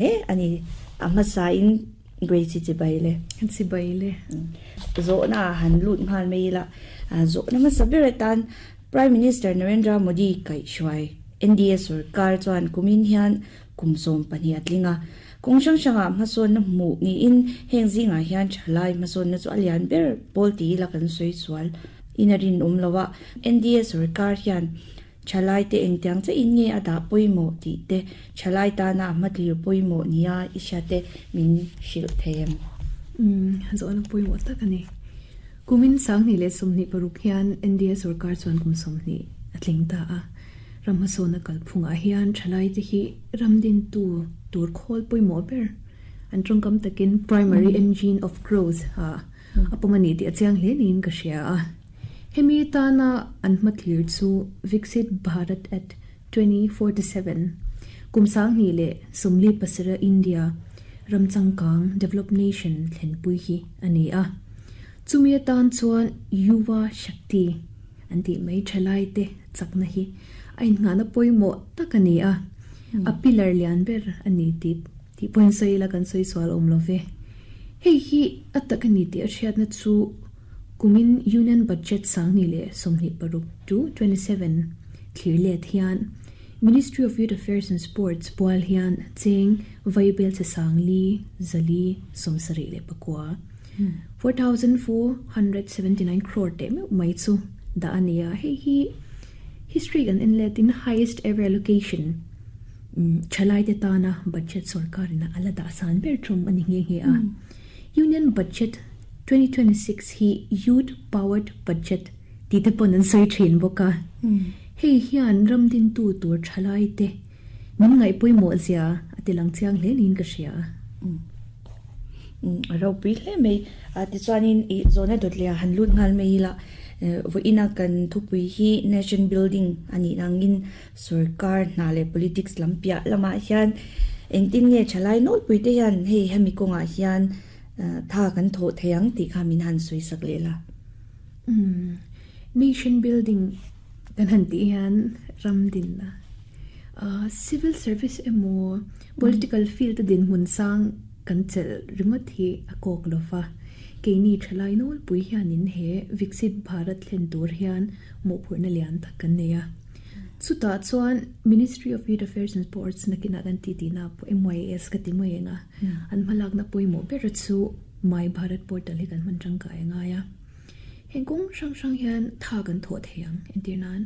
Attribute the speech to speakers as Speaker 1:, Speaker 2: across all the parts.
Speaker 1: Hle a ni. A hmasain Grace chibai le.
Speaker 2: Chibai le.
Speaker 1: Zawhna ah han lut nghal mai ila. Zawhna hmasa ber atan Prime Minister Narendra Modi kaihhruai NDA sorkar chuan kumin hian kum 12 a tling a. Kawng hrang hrangah hmasawnna hmuh niin heng zingah hian thalai hmasawnna chu a lian ber pawl ti ila kan sawi sual in a rinawm lo a. NDA sorkar hian Thalai te engtiang che in nge a dah pawimawh tih te, thalai tana a hmatlir pawimawh nia i hria te min hrilh thei em?
Speaker 2: Umm, zawhna pawimawh tak a ni. Kumin 2026 hian NDA sorkar chuan kum 20 a tling ta a. Ram hmasawnna kalphungah hian thalai te hi ram dintu tur khawl pawimawh ber an tawngkam takin primary engine of growth ah a pawm a ni tih a chiang hle niin ka hria a. Hemi tana an hmathlir chu Viksit Bharat at 2047, kum 2047 India ram changkang, developed nation, thlenpui hi a ni a. Chumi atan chuan Yuva Shakti an tih mai thalaite chakna hi a innghahna pawimawh tak a ni a, a pillar lian ber a ni tih tih pawhin sawi ila kan sawi sual awm lo ve. Hei hi a tak a ni tih a hriatna chu Kumin Union Budget 2026 to 27 thlir let hian Ministry of Youth Affairs and Sports pual hian cheng vaibel che 4,479, 4,479 crore teh meuh mai chu dah a ni a, hei hi history kan en letin highest ever allocation thalaite tana budget sorkarin a la dah san ber tum a ni nghe nghe a. Union Budget 2026 hi Youth Powered Budget tih te pawn an sawi thin bawk a. Hei hian ram dintu tur thalai te min ngaih pawimawh zia a ti lang chiang hle niin ka hria.
Speaker 1: A ropui hle mai. Tichuanin i zawhna dawt leh ah han lut nghal mai ila, vawiina kan thupui hi Nation Building a nih nangin Sorkar hna leh politics lam piah lamah hian engtin nge thalai nawlpui te hian hei hemi kawngah hian tha kan thawh thei ang tih kha min han sawi sak leh la.
Speaker 2: Umm, nation building kan han tih hian ram dinna civil service emaw political field a dinhmun sang kan chelh ringawt hi a kawk lo va, keini thalai nawlpui hianin he Viksit Bharat thlen tur hian mawhphurhna lian tak kan nei a. Chutah chuan Ministry of Youth Affairs and Sports nakinah kan tih tihna pawh MYAS ka ti mai eng a, an hmalakna pawimawh ber chu My Bharat Portal hi kan hman tangkai a ngai a. Heng kawng hrang hrang hian tha kan thawh thei ang. Entir nan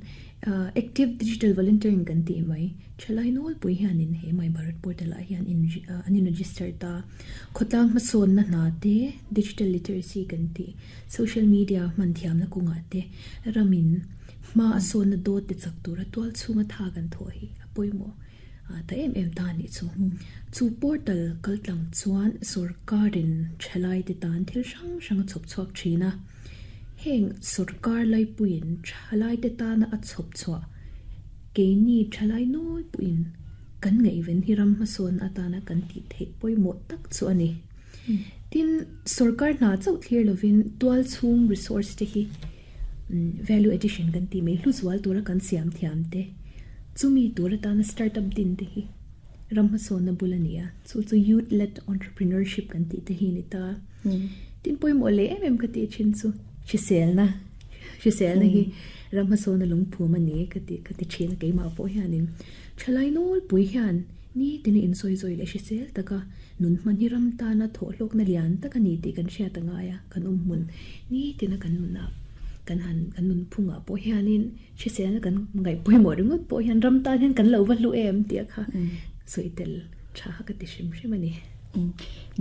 Speaker 2: Active Digital Volunteering kan tih mai, thalai nawlpui hianin he My Bharat Portal ah hian an in register ta. Khawtlang hmasawnna hna te, Digital Literacy kan tih, Social Media hman thiamna kawngah te ramin Hma a sawnna dawt te chak tura tual chhunga tha kan thawh hi a pawimawh ta em em ta a nih chu. Chu portal kal tlang chuan sorkarin thalai te tan thil hrang hrang a chhawp chhuak thin a. Heng sorkar laipuiin thalai te tana a chhawp chhuah keini thalai nawlpuiin kan ngaihven hi ram hmasawn atana kan tih theih pawimawh tak chu a ni. Tin, sorkar hna chauh thlir lovin tual chhung resource te hi Value addition kan tih mai hluzual tura kan siam thiam te, chumi tur atana startup din te hi ram hmasawnna bul a ni a, chu chu youth led entrepreneurship kan tih te hi a ni ta. Tin pawimawh leh em em ka tih thin chu hriselna, hriselna hi ram hmasawnna lungphum a ni ka ti ka ti thin a keimah pawh hianin thalai nawlpui hian nitin a insawi zawi leh hrisel taka nun hman hi ram tana thawhhlawkna lian tak a ni tih kan hriat a ngai a. Kan awm hmun nitina kan nunah kan han kan nun phungah pawh hianin hriselna kan ngaih pawimawh ringawt pawh hian ram tan hian kan lo va hlu em tih a kha sawi tel tha kha ka ti hrim hrim a ni.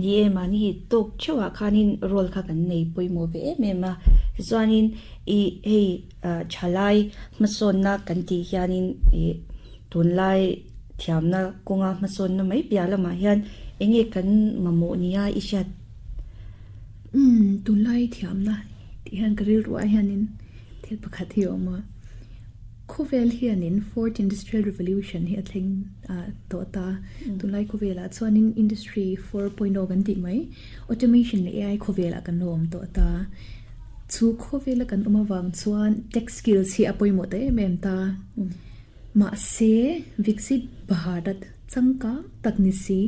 Speaker 1: Ni e, mahni tawk theuhah khanin role kha kan nei pawimawh ve em em a, tichuanin i hei thalai hmasawnna kan tih hianin i tunlai thiamna kawnga hmasawnna mai piah lamah hian enge kan mamawh nia i hriat
Speaker 2: Umm, tunlai thiamna tih hian ka rilruah hianin thil pakhat hi a awm a. Khawvel hianin Fourth Industrial Revolution hi a thleng tawh ta. Tunlai khawvelah chuanin Industry 4.0 kan tih mai, Automation leh AI khawvelah kan lo awm tawh ta. Chu khawvela kan awm avang chuan tech skills hi a pawimawh ta em em ta. Mahse, Viksit Bharat changkang tak ni si.